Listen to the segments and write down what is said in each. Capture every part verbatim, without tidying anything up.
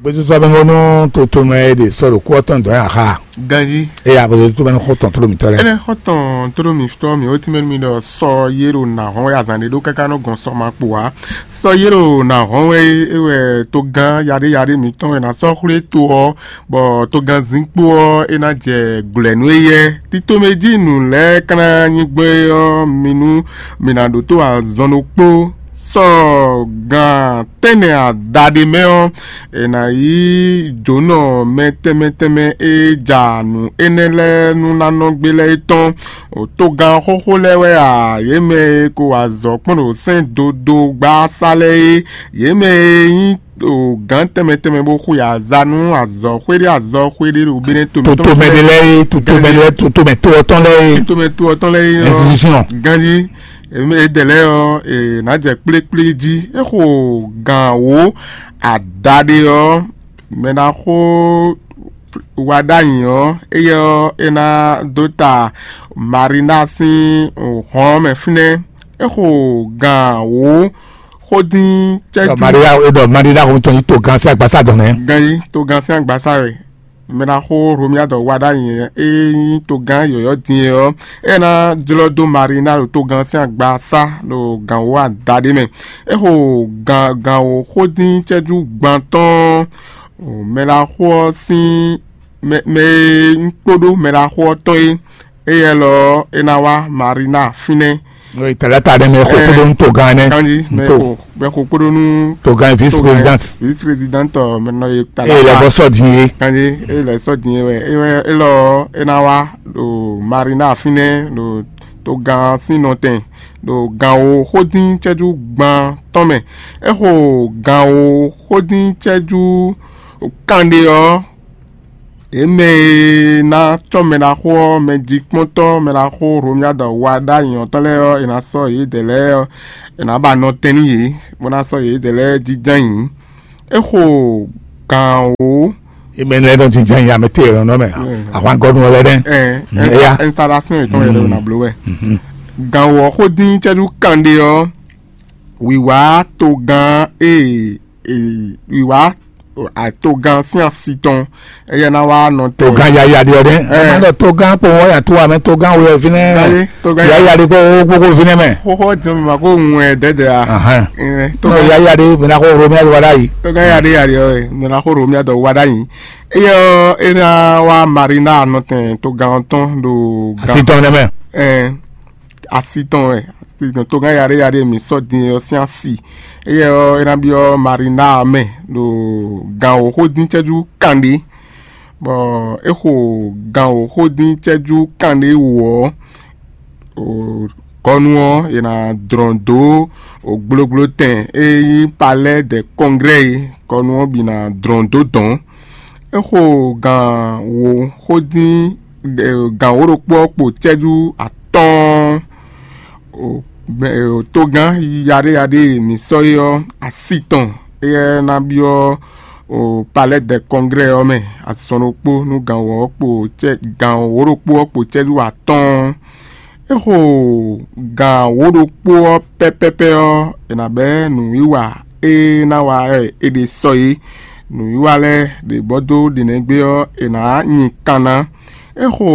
Gbɛsɔsɔ bɛ ŋɔnɔ to tomɛ e ɖe sɔ ɖo kú ɔtɔn dɔn ya xa. Ganji. Eye abo to tomɛ xɔ tɔn tolo mitɔ lɛ. Ene xɔ tɔn tolo mitɔ mi o timɛ mi ɖɔ sɔ ye ɖo na hɔn ya zan ɖe ɖo kaka nɔ gɔn sɔ ma kpo wa. Sɔ ye ɖo na hɔn wɛ e wɛ to gan yaɖe yaɖe mitɔn wɛ na sɔ xwle to ɔ, bɔ to gan zin kpo ɔ e na jɛ glɛ nu eyɛ. Titomɛ ji nu lɛ kana nyigbɛ ɔ mi nu mi na ɖo to azɔn ɖokpo. Sɔ gan tɛnɛ adaɖe mɛ ɔ, è nǎ yí jǒnɔ mɛ tɛnmɛ tɛnmɛ e ja nǔ énɛ́ lɛ́ɛ nú ná nɔ gbé lɛ́ɛ é tɔn. Togán xóxó lɛ́ɛ wɛ a, yě mɛ e ko wa azɔ̌ kpɔ́n ɖo sɛ́n dodó gbá sá lɛ́ɛ é, yě mɛ e nyí gǎn tɛnmɛ tɛnmɛ bó xwe aza nú azɔ̌ xwéɖé azɔ̌ xwéɖé ɖo Benɛ́ tomɛ tɔn. Toto mɛ ɖé lɛ́ɛ é, toto mɛ ɖé lɛ́ɛ, toto mɛ to ɔ́ tɔn lɛ́ɛ é. Toto mɛ to ɔ́ tɔn lɛ́ɛ é ɔ́, institution. Ganjí. Eme edɛ̌ lɛ́ɛ ɔ́, è nǎ jɛ kplékplé jí. É xo gǎn wǒ adaɖé ɔ́, mɛ ná xo wa ɖ'ayǐ ɔ́, éyɛ́ ɔ́, é ná dó ta Marina sín hɔn ɔ́ mɛ fínɛ́. É xo gǎn wǒ xó dín cɛ́jú. Maria e ɖɔ Maria xo tɔn yi to gan sín agbasa dɔn nɛ. Gan yi to gan sín agbasa wɛ. Mɛ ná xo Romia dɔ wa ɖ'ayǐ e nyí togán yɔ̌yɔ́ din é ɔ́, é ná jlɔ́ dó Marina ɖo togán sín agba sá ɖo gǎnwó adaɖé mɛ. É xo gǎnwó xó dín cɛ́jú gban tɔn mɛ ná xo ɔ́ sín mɛ e nyí kpóɖó mɛ ná xo ɔ́ tɔn é. Éyɛ́ lɔ ɔ́, é ná wá Marina fínɛ́. Talata ɖé mɛ xo kpóɖó nú togán ɛnɛ. Kanji mɛ xo mɛ xo kpóɖó nú togán vice présidente. Vice présidente mɛ nɔ ye talata. Eye lɛ bɔ sɔ din ye. Kanji eye lɛ sɔ din ye wɛ eye wɛ elɔ ɔ́, é ná wá ɖo Marina fínɛ́ ɖo togán sín nɔtɛn ɖo gǎnwó xódín cɛ́jú gban tɔn mɛ. É xo gǎnwó xódín cɛ́jú kanɖe ɔ́, yě mɛ e ná cɔ́ mɛ ná xo ɔ́, mɛ jikpɔ́ntɔ́ mɛ ná xo Romia dɔ wa ɖ'ayǐ ɔ́ tɔn lɛ́ɛ ɔ́, è nǎ sɔ́ yědɛɛ lɛ́ɛ ɔ́, è nǎ ba nɔ tɛn nú yě, bó ná sɔ́ yědɛɛ lɛ́ɛ jínjɔ́n ayǐ. É xo gǎn wǒ. Ime lɛ nɔ jínjɔ́n ayǐ amɛ te lɔ nɔ mɛ. Ahwangɔnu lɛ dɛ. Ɛn, installation yětɔn yɛ lɛ wɛ ná bló wɛ. Gǎn wǒ ɔ́ xó dín cɛ́jú kanɖe ɔ́, wǐwá togán e wǐwá togán sín asi tɔn, éyɛ́ ná wá nɔ tɛn. Togán yaya ɖe ɔ́ ɖe. Ɛ má ɖɔ togán kpo wɔ ya tó amɛ togán wɛ fínɛ́. Yaya ɖe kpo gbogbo fínɛ́ mɛ. Xóxó jɛ ma ko ŋu ɛ dɛdɛ a. Togán yaya ɖe mɛ na xó Romia wa ɖ'ayǐ. Togán yaya ɖe yaya ɖe ɔ́ mɛ na xó Romia dɔ wa ɖ'ayǐ. Éyɛ́ ɔ́ é ná wá Marina nɔtɛn togán tɔn ɖo asi tɔn nɛ mɛ. Asi tɔn wɛ, asi tɔn togán yaɖé yaɖé mǐ sɔ́ din ɔ́ sín asi. Éyɛ́ ɔ́, é ná byɔ́ Marina mɛ ɖo gǎn wǒ xó dín cɛ́jú kanɖé, bɔ é xo gǎn wǒ xó dín cɛ́jú kanɖé wǒ ɔ́, gɔ́nu ɔ́, è nǎ dlɔ̌n dó gblogblo tɛn e nyí Palais des Congrès é, gɔ́nu ɔ́ bǐ ná dlɔ̌n dó dɔ̌n. É xo gǎn wǒ xó dín gǎn wǒ ɖokpó ɔ́ kpo cɛ́jú atɔ́ɔ́n. Togán yaɖéyaɖé e mǐ sɔ́ é ɔ́, asi tɔn éyɛ́ ná byɔ́ Palais des Congrès ɔ́ mɛ azɔn ɖokpó nú gǎn wǒ ɔ́ kpo gǎn wǒ ɖokpó ɔ́ kpo cɛ́jú atɔ́ɔ́n. É xo gǎn wǒ ɖokpó ɔ́ pɛ́pɛ́pɛ́ ɔ́, è nǎ bɛ́ nǔwiwa e ná wa wɛ è ɖe sɔ é. Nǔwiwa lɛ́ɛ ɖě bɔ dó ɖě nɛ́ gbé ɔ́, è nǎ nyi kan ná. É xo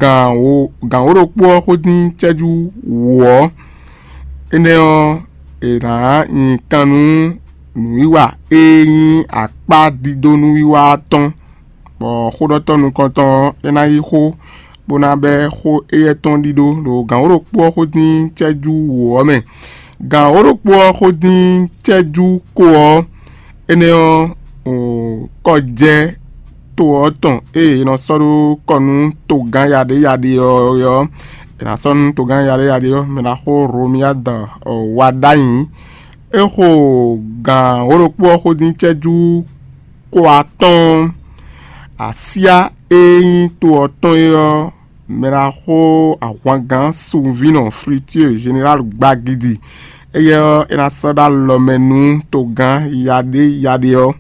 gǎn wǒ gǎn wǒ ɖokpó ɔ́ xó dín cɛ́jú wǒ ɔ́, énɛ́ ɔ́, è nǎ nyi kan nú nǔwiwa e nyí akpá dídó nǔwiwa ɔ́ tɔn, bɔ xóɖɔtɔ́ nukɔntɔn ɔ́, é ná yí xó, bó ná bɛ́ xó éyɛ́ tɔn ɖíɖó ɖo gǎn wǒ ɖokpó ɔ́ xó dín cɛ́jú wǒ ɔ́ mɛ. Gǎn wǒ ɖokpó ɔ́ xó dín cɛ́jú ko ɔ́, énɛ́ ɔ́, kɔjɛ́ to ɔ́ tɔn e è nɔ sɔ́ ɖó kɔ nú togán yaɖé yaɖé ɔ́ ɔ́, è nǎ sɔ́ nú togán yaɖé yaɖé ɔ́, mɛ ná xó Romia dɔ wa ɖ'ayǐ. É xo gǎn wǒ ɖokpó ɔ́ xó dín cɛ́jú ko atɔ́ɔ́n. Asyá e nyí to ɔ́ tɔn é ɔ́, mɛ ná xó ahwangán sunvínɔ Fructueux Général Gbagidi, éyɛ́ ɔ́, é ná sɔ́ ɖó alɔ mɛ nú togán yaɖé yaɖé ɔ́.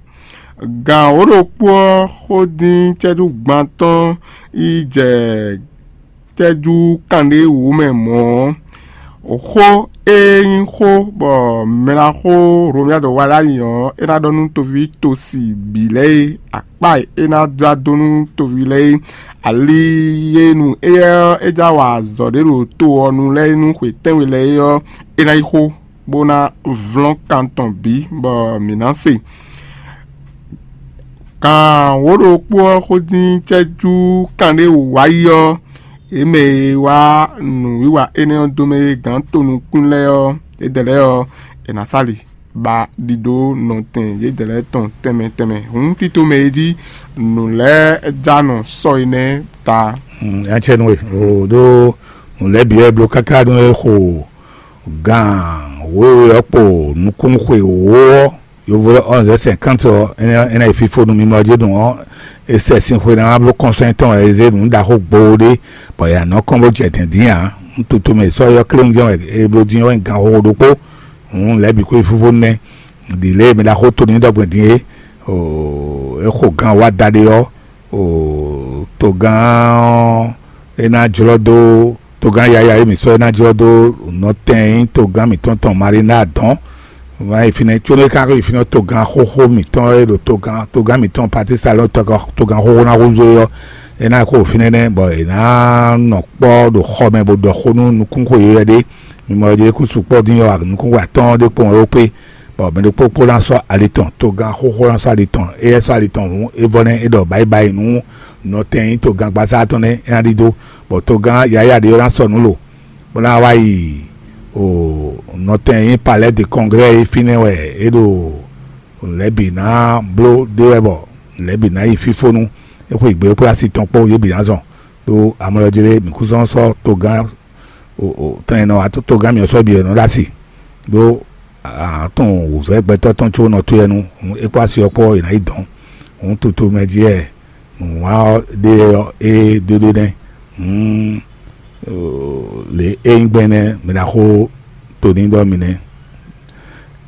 Gǎn wǒ ɖokpó ɔ́ xó dín cɛ́jú gban tɔn yi jɛ cɛ́jú kanɖé wǔ mɛ mɔ̌ ɔ́, xó É nyí xó bɔ mɛ ná xó Romia dɔ wa ɖ'ayǐ ɔ́, é ná ɖɔ nú toví tosi bǐ lɛ́ɛ é, akpá e é ná dó adó nú toví lɛ́ɛ é, ali e nu éyɛ́ ɔ́, é já wa azɔ̌ ɖé ɖo to ɔ́ nu lɛ́ɛ é nú xwe tɛ́nwe lɛ́ɛ é ɔ́, é ná yi xó, bó ná vlɔ́n kan tɔn bǐ, bɔ mǐ ná se. Kan wǒ ɖokpó ɔ́ xó dín cɛ́jú kanɖé wǎyi ɔ́, yě mɛ e wá nǔwiwa énɛ́ ɔ́ dó mɛ e gǎn tonukún lɛ́ɛ ɔ́, yědɛɛ lɛ́ɛ ɔ́, è nǎ sá li ba ɖiɖó nɔtɛn yědɛɛ lɛ́ɛ tɔn tɛnmɛ tɛnmɛ. Hǔn tito mɛ e jí nǔ lɛ́ɛ ja nɔ sɔ́ énɛ́ ta. Acɛnú e o ɖó nǔ lɛ́ɛ bǐ wɛ bló káká nú é xo gan wěwe ɔ́ kpo nukúnnú xwe wǒ ɔ́, yovo lɛ́ɛ onze cinquante ɔ́, é ná yi fífó nú mimɔ jí nǔ ɔ́, é sɛ sin xwe ná bló kɔnsɔ́n tɔn wɛ é zé nǔ ɖaxó gboo ɖé, bɔ è nǎ nɔ kɔn bó jɛ dɛ̌n dín ǎ. Nú toto mɛ sɔ́ ɔ́ kléwún jɛ́n wɛ é bló dín ɔ́ wɛ gan xóxó ɖokpó. Hǔn lɛ̌ bǐ xwé fífó nɛ́. Ɖi lě e mi ɖaxó to ní ɖɔgbɛ́ din é, é xo gan wá da ɖé ɔ́, togán ɔ́, é ná jlɔ́ dó togán yaya e mǐ sɔ́ é ná jlɔ́ dó nɔtɛn e nyí togán mǐtɔn tɔn Marina dɔn. Wá yi fínɛ́ có nú é ka yi fínɛ́ togán xóxó mǐtɔn e ɖo togán togán mǐtɔn Patísa lɔ togán xóxó ná húzú é ɔ́, é ná xo fínɛ́ nɛ́ bɔ è nǎ nɔ kpɔ́ ɖo xɔ mɛ bó ɖɔ xó nú nukúnxó yeyɔ́ ɖé. Mi mɔ ɔ́ kú sukpɔ́ dín ɔ́, nukúnxó atɔ́ɔ́n ɖé kpɔ́n wɛ ó kpé, bɔ mɛ ɖokpó kpó ná sɔ́ ali tɔn, togán xóxó ná sɔ́ ali tɔn. Éyɛ́ sɔ́ ali tɔn hǔn, é vɔ nɛ́ é ɖɔ bǎyibáyi nú nɔtɛn e nyí togángbasá tɔn nɛ́ é ná ɖidó, bɔ togán yǎyá ɖé ɔ́ ná sɔ́ nǔ lo, bó ná wá yi o nɔtɛn e nyí Palais de Congrès é fínɛ́ wɛ é ɖo lɛ̌ bǐ ná bló ɖe wɛ bɔ lɛ̌ bǐ ná yi fífónú. É xwe gbě kplá asi tɔn kpó yě bǐ ná zɔn. Ɖó amlɔ jí lé mǐ kú zɔ́n sɔ́ togán tɛn nɔ togán mǐ ɔ́ sɔ́ bǐ ɔ́ nɔ ɖó asi. Ɖó atɔn wǔvɛ́ gbɛtɔ́ tɔn có nɔ tó yɛ nu, é kpó asi ɔ́ kpó è nǎ yi dɔn. Hǔn toto mɛ jí wɛ nǔwá ɔ́ ɖe ɔ́ é ɖó ɖé nɛ́. Hǔn lě é nyí gbɛn nɛ́ mǐ ná xó to ní ɖɔ mǐ nɛ́.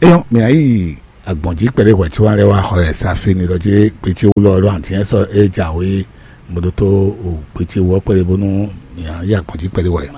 É nyɔ́ mǐ ná yi agbɔ̌n jí kpɛɖé hwɛ̌ có wá lɛ́ wá xɔ yɛ sa fí ni ɖɔ jí gbé ce wú lɔ ɖó antínyɛ sɔ́ é jǎwe mɔ̌ ɖótó gbé ce wú ɔ́ kpɛɖé bónú mǐ ná yi agbɔ̌n jí kpɛɖé hwɛ̌.